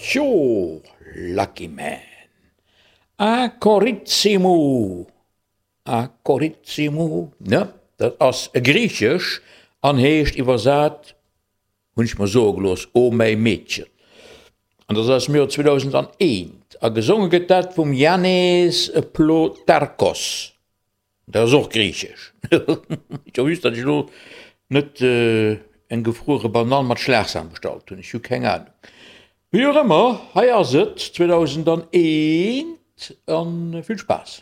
Tjo, Lucky Man. A Koritsi mou, a Koritsi mou, ne, dat ass Griichesch an heescht iwwersat, hunn ech mer soe gelooss, O mäi Meedchen. An dat ass aus dem Joer 2001 a gesonge gëtt dat vum Jannis Ploutarchos. Dat ass och griichesch. Ech hoff just, datt ech elo net eng gefruere Banann mat Schlagsahn bestallt hunn. Ech hu keng Ahnung. Wéi och ëmmer, hei ass et, 2001, a vill Spaass.